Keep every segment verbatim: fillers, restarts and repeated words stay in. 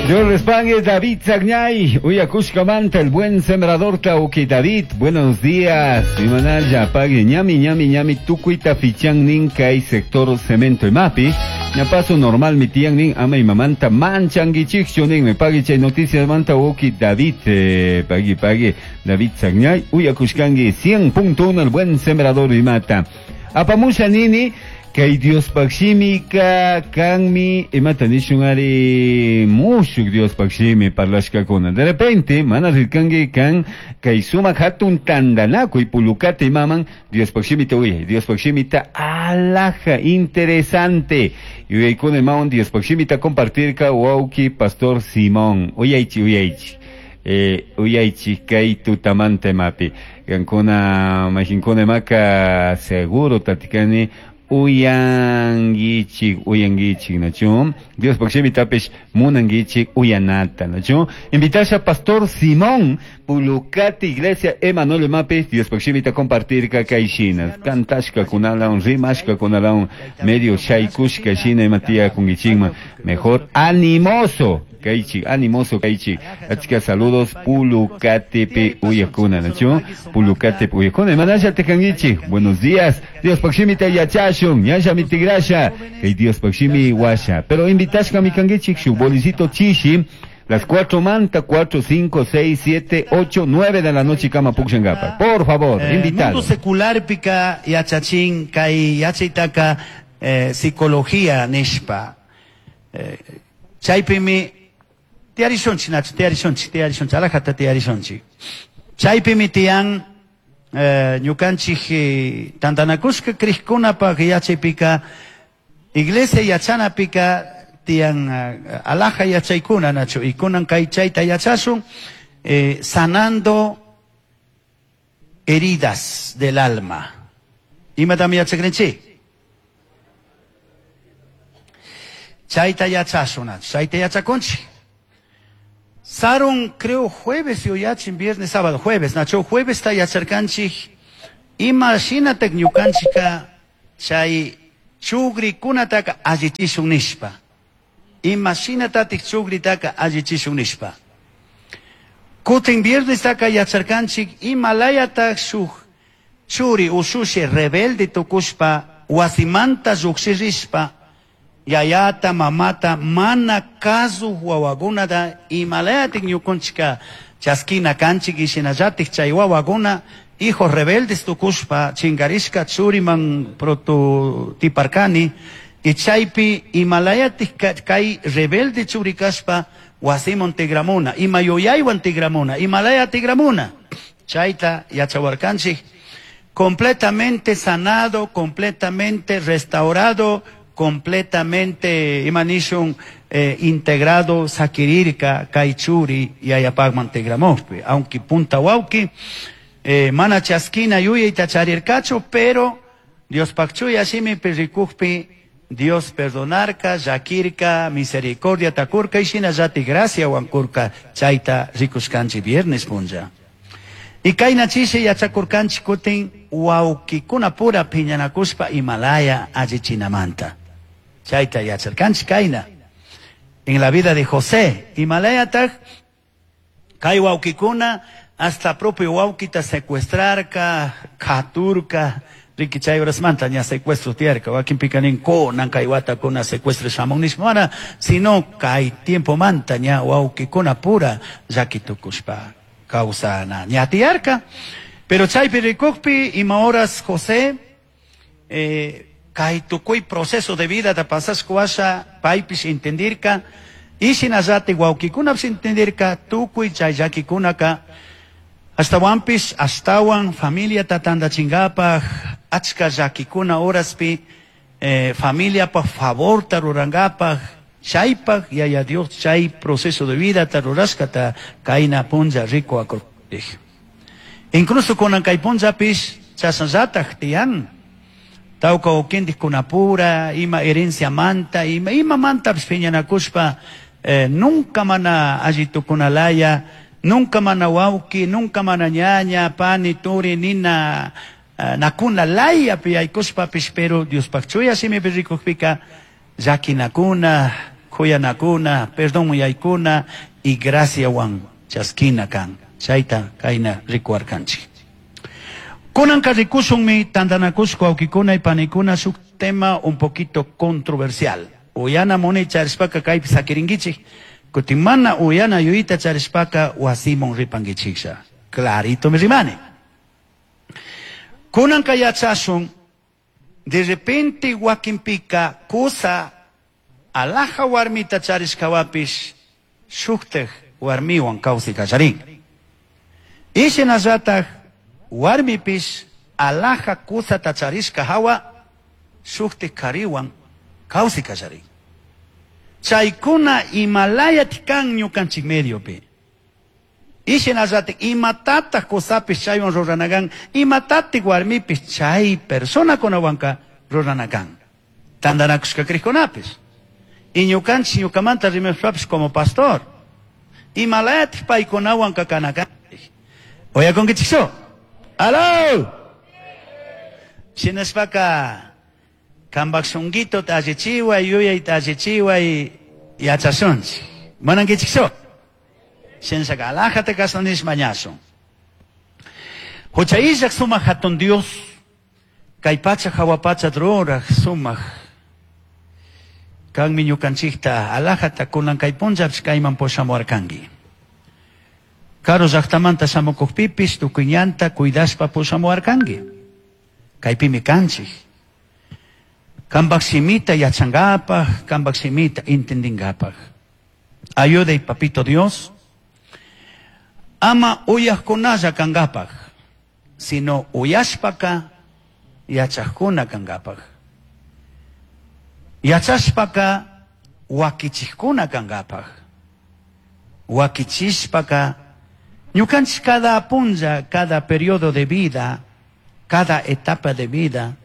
Dios les pague, David Sagñay, Uyakushkamanta, el buen sembrador Tauki David, buenos días. Imanalla, pague, ñami, ñami, ñami, tukuita fichan nin kay sector cemento y mapi. Ñapaso normal mi tian nin ama y mamanta manchanguichikchu nin, me pague chay noticias manta uki David, eh, pague, pague, David Sagñay, Uyakushkangi, cien punto uno, el buen sembrador y mata. Apamusha nini, kay Diospaq shimika kanmi imata nishun ari mushuk Diospaq shimi parlashkakuna. De repente, mana rirkanki kan kay sumaq hatun tantanakuy pulukata imaman Diospaq shimita uyay, Diospaq shimita alaja interesante. Yuyaykuna imawan Diospaq shimita compartirka wawki Pastor Simón. Uyaychi, uyaychi. Eh, uyaychi kay tutamanta imapi. Kankuna majinkuna imaka seguro tatikani uyanguichik, uyanguichik, nachu. Diospaq shimitapish munanguichik uyanata, nachu. Invitasha Pastor Simón, Pulucati, Iglesia Emanuel Mapi, Diospaq shimita compartirka kay shina. Kantashka kunalawan, rimashka kunalawan, medio shaykushka shina imatia kungichikman. Mejor animoso, kaychik, animoso kaychik. Achka saludos, Pulucatipi uyakuna, nachu. Pulucatipi uyakuna. Imanasha tekanguichik, buenos días. Diospaq shimita yachashun, ñasha mitigrasha, kay Diospaq shimi washa. Pero invitashka mi kanguichik, shu bolicito chishi, las cuatro manta, cuatro, cinco, seis, siete, ocho, nueve de la noche, kama puxangapa. Por favor, Eh, invitado. Mundo secular pika yachachin kay yachaytaka eh, psicología nishpa. Eh, chaypimi tiyarishunchik Nacho, tiyarishunchik, tiyarishunchik, alajata tiyarishunchik. Chaypimi tiyan eh, ñukanchik eh, tantanakushka krishkunapaq yachaypika iglesia yachanapika tiyan eh, alaja yachaykuna Nacho, y kunan kay chayta yachashun eh, sanando heridas del alma. Imatam yachakrinchik? Chayta yachashun, Nacho, chayta yachakunchik. Sarun, creo, jueves yuyachin, viernes, sábado, jueves, Nacho, jueves ta yacharkanchik. Ima shinatak ñukanchika chay chugrikunataka allichishun nishpa. Ima shinatatik chugritaka allichishun nishpa. Kutin viernes taka yacharkanchik, imalayatak shuk churi ushushi rebelde tukushpa, wasimanta lluqshirishpa, yayata, mamata, mana kazu wawakunata, imalayatik ñukunchika chaskina kanchik y shinallatik chay wawakuna, hijos rebeldes tukushpa, chinkarishka churiman prototiparkani, y chaypi imalayatik ka-, kay rebelde churi kashpa, wasiman tigramuna, ima yuyaywan tigramuna, imalaya tigramuna. Chayta yachawarkanchik, completamente sanado, completamente restaurado, completamente imanishun, eh, integrado sakirirka kay churi yayapagman tigramujpi, aunque punta wauki, eh, mana chaskina yuyayta charirkachu, pero Dios pakchuya shimipi rikujpi Dios perdonarka, llakirka, misericordia takurka y shinallati gracia wankurka chayta rikushkanchik viernes punlla. Y kayna chishi yachakurkanchik kutin wawkikuna pura piñanakushpa Himalaya allichinamanta. Chayta yacharkanchik kayna. En la vida de José, Himalayataq kay wawkikuna hasta propio wawkita secuestrarka, katurka, riki chay horasmanta ña secuestro tiyarka, wakinpika nin kunan kay watakuna secuestro shamun nishpa, mana, sino kay tiempo manta ña wawkikuna pura llakitukushpa kawsana ña tiyarka. Pero chaypi rikukpi ima horas José, eh, kay tukuy proceso de vida ta pasashka washa paypish entendirka, y shinallati wawkikunapish entendirka tukuy chay llakikunaka ashtawanpish ashtawan familiata tantachinkapak achka llakikuna horaspi, eh, familiapaj favorta rurankapak chaypak yaya Dios chay proceso de vida ta rurashkata kayna punlla riku akurpij. Incluso kunan kay punllapish chasnallataj tiyan. Tawka ukintik kunapura, ima herencia manta, ima, ima mantapish piñanakushpa, eh, nunca mana alli tukunalaya, nunca mana wawki, nunca mana ñaña, pani, turi, nina, eh, nakuna laya pi aykushpapish, pero Diospaq chuya shimipi rikukpika llakinakuna, Kuyanakuna, perdón yaykuna y graciawan chaskina kan. Chayta kayna rikuarkanchik. Kunanka rikushunmi tantanakushka wawkikuna y panikuna shuk tema un poquito controversial. Uyana munay charishpaka kaypi sakirinkichik. Kutin mana uyana yuyita charishpaka wasiman ripankichiklla. Clarito mi rimani. Kunanka yachashun, de repente wakinpika kusa alaja warmita charishkawapish shuktaj warmiwan kawsay kallarin. Y shinallataj warmipish alaja kusata charishka hawa shuktaj kariwan kawsay kallarin. Chaykuna imalayat kan ñukanchik mediopi. Y shinallataj imatataj kusapish chaywan ruranakan, imatataj warmipish chay personakunawanka ruranakan. Tantanakushka kriqkunapish. Y ñukanchik ñukamanta rimashpapish como pastor. Imalayat paykunawanka kanakanchik. Uyakunkichikchu? ¡Aló! Shinashpaka kanpak shunquito allichiway, yuyayta allichiway yachashunchik. Munankichikchu? Shinashaka alajata kasanish mañashun. Hucha illak sumaq hatun Dios, kay pacha hawa pacha ruraj sumaq kanmi ñukanchikta alajata kunan kay punllapish kayman pushamuarkanki. Karu llaqtamanta shamukuqpipis tukuy ñanta cuidashpa pushamuarkanki. Kaypimi kanchik. Kanpak simita yachankapaj, kanpak simita entendinkapaj. Ayuday papito Dios. Ama uyajkunalla kankapaj, sino uyashpaka yachajkuna kankapaj. Yachashpaka wakichijkuna kankapaj. Wakichishpaka ñukanchik cada punlla, cada periodo de vida, cada etapa de vida,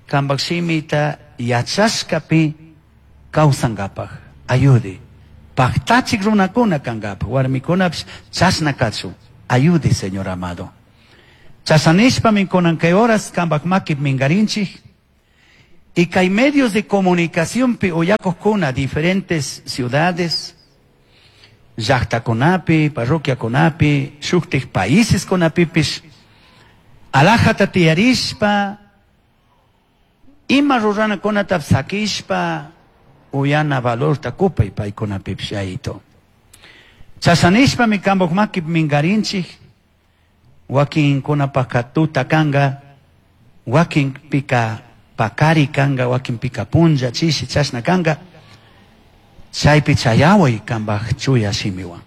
kanpak simita yachashkapi kawsankapaj. Ayude. Paktachik runakuna kankapaj, warmikunapish chashna kachun. Ayude, Señor amado. Chashanishpami kunan kay horas kanpak makip minkarinchik. Y kay medios de comunicación pi uyakojkuna diferentes ciudades, llaqtakunapi, parroquiakunapi, shuktik países kunapipish, alajata tiyarishpa, ima ruranakunata sakishpa, uyana valorta kupay paykunapipish yayito. Chashanishpami kanpak makip minkarinchik, wakinkunapajka tuta kanka, wakinpika pakari kanka, wakinpika punlla, chishi, chashna kanka, chaypi chayaway kanpak chuya shimiwan.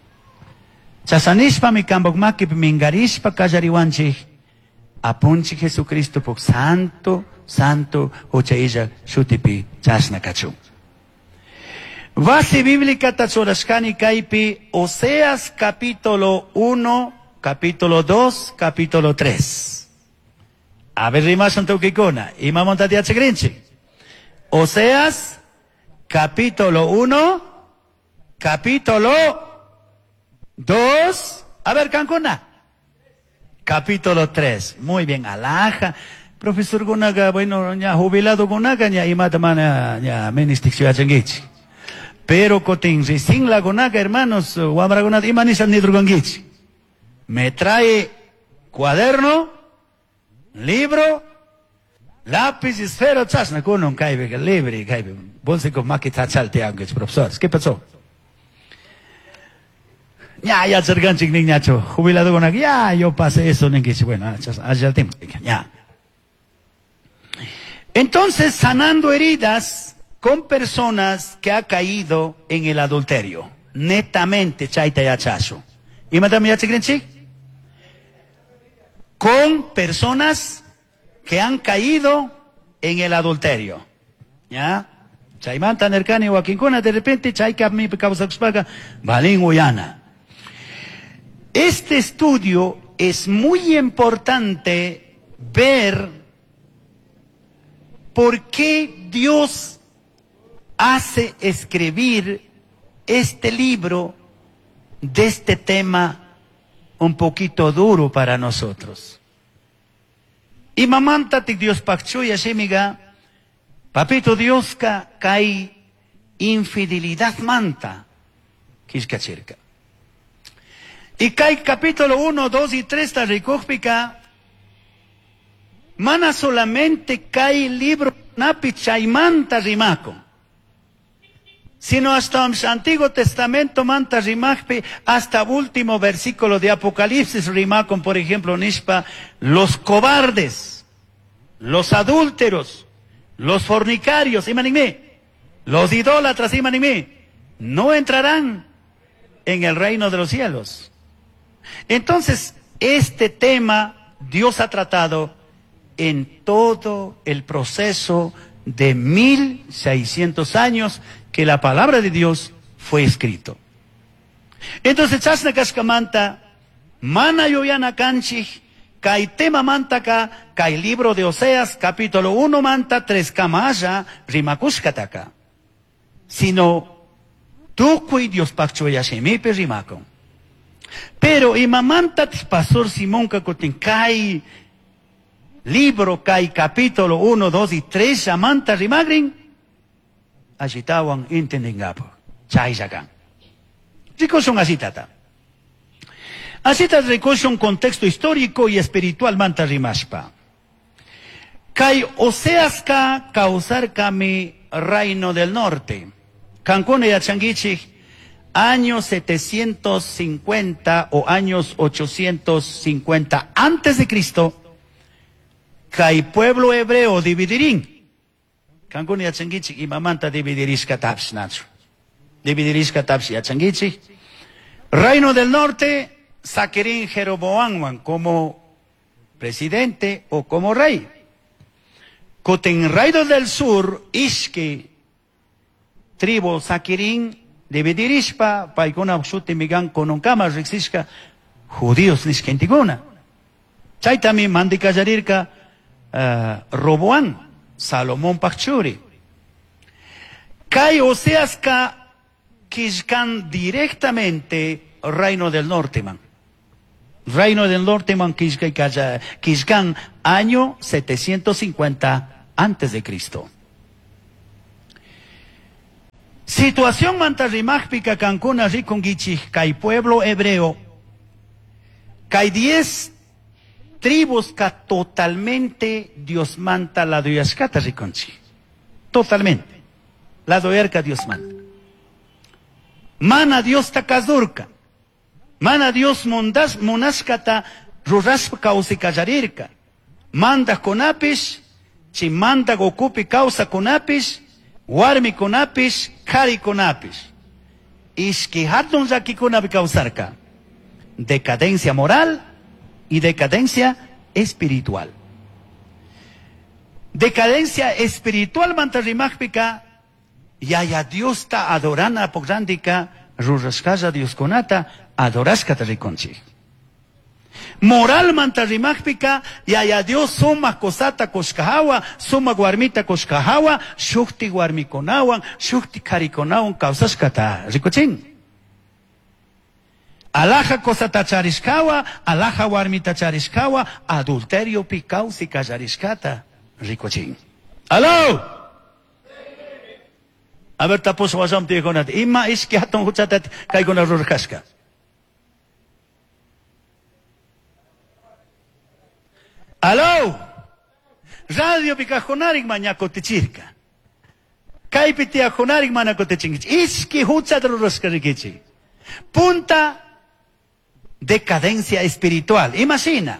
Chashanishpami kanpak makip minkarishpa kallariwanchik, apunchik Jesucristo puk santo, santo, hucha illa shutipi chashna kachun. Base bíblica tachurashkani kaypi Oseas capítulo uno, capítulo dos, capítulo tres. A ver, rimashun tukikuna. Imamanta yachakrinchik. Oseas capítulo uno, capítulo dos. A ver, kankuna. Capítulo tres. Muy bien, alaja. Profesor kunaga, bueno, ña jubilado kunaga, ña imata mana, ña ministik yachankichik. Pero kotin recién la kunaga, hermanos, wamrakunata ima nisha nidrukankichik. Me trae cuaderno, libro, lápiz, esfero, chasna, kunon kaypi, libre, kaypi. Bolsico makita chalteankichik, profesores. ¿Qué pasó? Ya, ya, yacharkanchik niñacho, jubilado kunaga, ya, yo pasé eso, ninkichik. Bueno, allá tiempo, ya. Entonces, sanando heridas con personas que ha caído en el adulterio. Netamente, chayta yachazo. ¿Imatami yachakrinchik? Con personas que han caído en el adulterio. ¿Ya? Chaymanta nerkani wakinkuna, de repente chayka mi kawsakushpaka, valin uyana. Este estudio es muy importante ver por qué Dios hace escribir este libro de este tema un poquito duro para nosotros. Y mamanta Dios pakchuya shimiga, papito Dioska kay Infidelidad manta killkachirka. Y kay capítulo uno, dos y tres ta rikukpika mana solamente kay libro napi chaymanta rimakun, sino hasta Antiguo Testamento manta rimakpi, hasta último versículo de Apocalipsis rimakun, por ejemplo, nishpa, los cobardes, los adúlteros, los fornicarios, imanime, los idólatras, imanime, no entrarán en el reino de los cielos. Entonces, este tema Dios ha tratado en todo el proceso de mil seiscientos años que la palabra de Dios fue escrito. Entonces, chashna kashkamanta, mana yuyana kanchik, kay tema mantaka, kay libro de Oseas, capítulo uno manta, tres kamalla, rimakushkataka. Sino, tukuy Dios pakchuyashimipi rimakun. Pero imamanta pastor Simón kakutin kay libro, kay capítulo uno, dos y tres, llamanta rimagrin, ashitawan intendingapo, chayllakan. Rikushun ashitata. Ashita rikushun contexto histórico y espiritual manta rimashpa. Kay Oseaska kausarkami reino del norte. Kankuna yachankichik, años setecientos cincuenta o años ochocientos cincuenta antes de Cristo, kay pueblo hebreo dividirín. Kankuna yachankichik imamanta dividirishka tapsh nachu. Dividirishka tapsh yachankichik. Reino del norte, saquirín Jeroboamwan como presidente o como rey. Kutin reino del sur, ishki tribu saquirín dividirishpa, paykuna shuti migan kununkama riksishka judíos nishkentikuna. Chaytami mandikallarirka uh, Roboán, Salomón Pachuri. Kay Oseaska kishkan directamente reino del norte man. Reino del norte man kishkan año setecientos cincuenta antes de Cristo. Situación mantarrimajpica kankuna rikungichik kay pueblo hebreo. Kay diez tribus ka totalmente Dios manta la doyashkata rikunchi. Totalmente. La doyarka Dios manta. Mana Dios takazurka. Mana Dios mundas munashkata rurashpa kawsikallarirka. Manda kunapish, chi manda gokupi kawsa kunapish, warmi kunapish, kari kunapish. Ishki hatun llakikunapi kawsarka. Decadencia moral y decadencia espiritual. Decadencia espiritual mantarrimajpika, yaya Dios ta adorana pograndika, rurashkalla Dios kunata, adorashkata rikunchik. Moral mantarrimajpika, yaya Dios suma kosata koshkahawa, suma warmita koshkahawa, shukti warmikunawan, shukti karikunawan kawsashkata rikuchin. Alaja kosata charishkawa, alaja warmita charishkawa, adulterio pi kawsi kallarishkata rikuchin. ¡Aló! A ver, tapos wasam tiyakunata. Ima ishki hatun huchata kaykuna rurashka. ¡Aló! Radio pikajunarik mañakotichirka. Kaypi tiyajunarik manakotichinkichik. Ishki huchata rurashka rikichik. Punta decadencia espiritual. Imagina.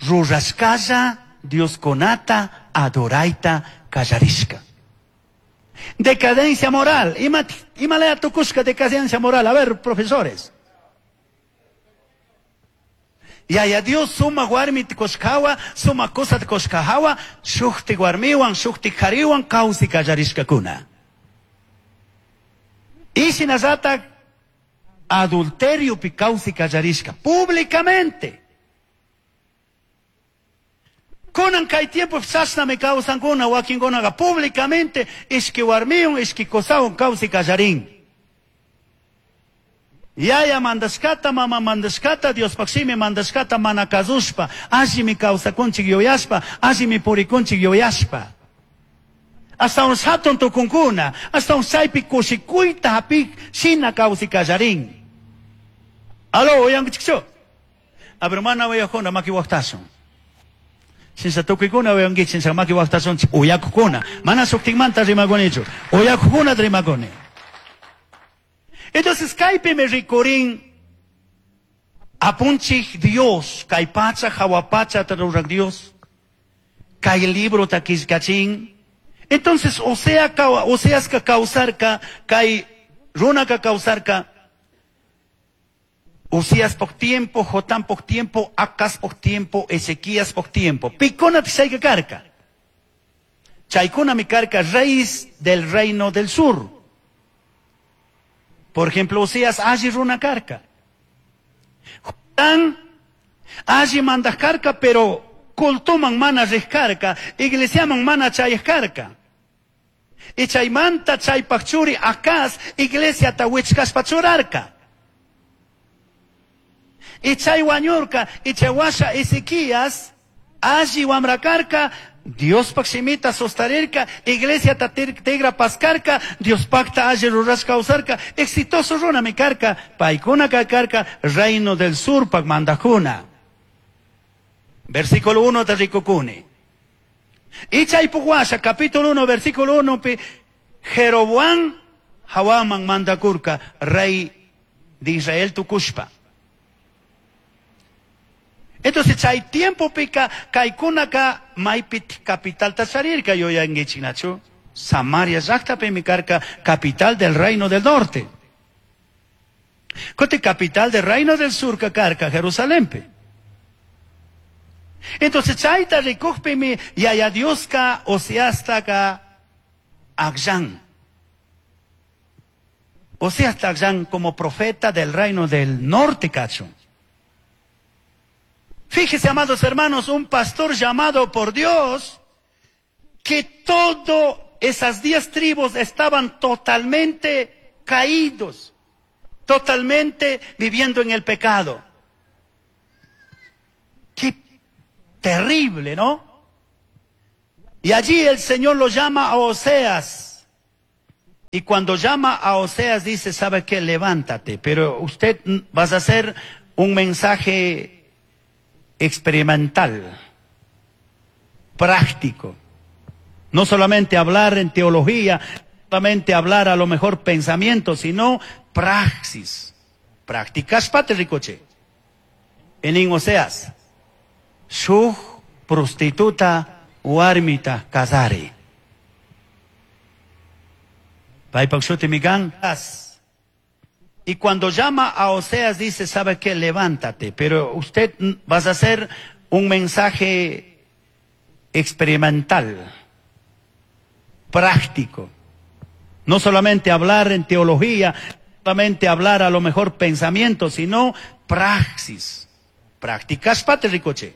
Rurashkalla Dios konata adoraita kallarishka. Decadencia moral. Ima, ima lea tukushka decadencia moral. A ver, profesores. Yaya Dios suma warmi tikoshkawa, suma cosa tikoshkahawa, shukti warmiwan, shukti kariwan, kawsi kallarishkakuna. Ishinallata adulterio pi kawsi kallarishka, públicamente. Kunan kay tiempo chashnami kawsankuna, wakinkunaqa públicamente ishki warmiwan, ishki qosawan kawsi kallarin. Yaya mandashkata, mama mandashkata, Diospaq shimi mandashkata mana kasushpa, allimi kawsakunchik yuyashpa, allimi purikunchik yuyashpa. Hasta un hatun tukunkuna, hasta un chaypi kushikuyta hapik shina kawsi kallarin. Aló, uyankichikchu? A ver, mana uyakuna maki waqtashun. Shinsa tukuykuna uyankichik, shinsa maki waqtashunchik uyakukuna. Mana shuktikmanta rimakunichu. Uyakukuna rimakuni. Entonces kaypimi rikurin apunchik Dios, kay pacha hawa pacha rurak Dios, kay librota killkachin. Entonces Osea Oseaska kawsarka, kay runaka kawsarka, Usías por tiempo, Jotán por tiempo, Acaz por tiempo, Ezequías por tiempo. Pikuna chayka karka. Chaykuna mi karka, reyes del reino del sur. Por ejemplo, Usías alli runa karka. Jotán alli mandaj karka, pero cultuman mana rij karka, iglesiaman mana chayaj karka. Y chaymanta chaypaj churi Acaz iglesiata wichkashpa churarka. Y chay wañurka, y chay washa Ezequías, alli wamra karka, Diospaj shimita sostarirka, iglesiata tigra paskarka, Diospajta alli rurashka kawsarka, exitoso runami karka, paykuna karka, reino del sur pak mandajkuna. Versículo uno de rikukuni. Y chaypaj washa, capítulo uno, versículo uno, pi, Jeroboam jawaman mandakurka, rey de Israel tukushpa. Entonces, chay tiempo pika, kaykunaka maypit capital tacharirka yuyankichiknachu. Samaria llaqtapimi karka, capital del reino del norte. Kote capital del reino del sur karka, Jerusalempi. Entonces, chayta rikukpimi, yaya Dioska, Oseastaka, akllan. Oseasta akllan como profeta del reino del norte, cacho. Fíjese, amados hermanos, un pastor llamado por Dios, que todas esas diez tribus estaban totalmente caídos, totalmente viviendo en el pecado. Qué terrible, ¿no? Y allí el Señor lo llama a Oseas. Y cuando llama a Oseas dice, ¿sabe qué? Levántate. Pero usted vas a hacer un mensaje experimental, práctico. No solamente hablar en teología, no solamente hablar a lo mejor pensamiento, sino praxis. Prácticas ricoche. En Oseas, shuj prostituta warmita kasari. Paypaj shutimi kan. Y cuando llama a Oseas dice, ¿sabe qué? Levántate. Pero usted vas a hacer un mensaje experimental, práctico. No solamente hablar en teología, no solamente hablar a lo mejor pensamiento, sino praxis. Prácticas ricoche.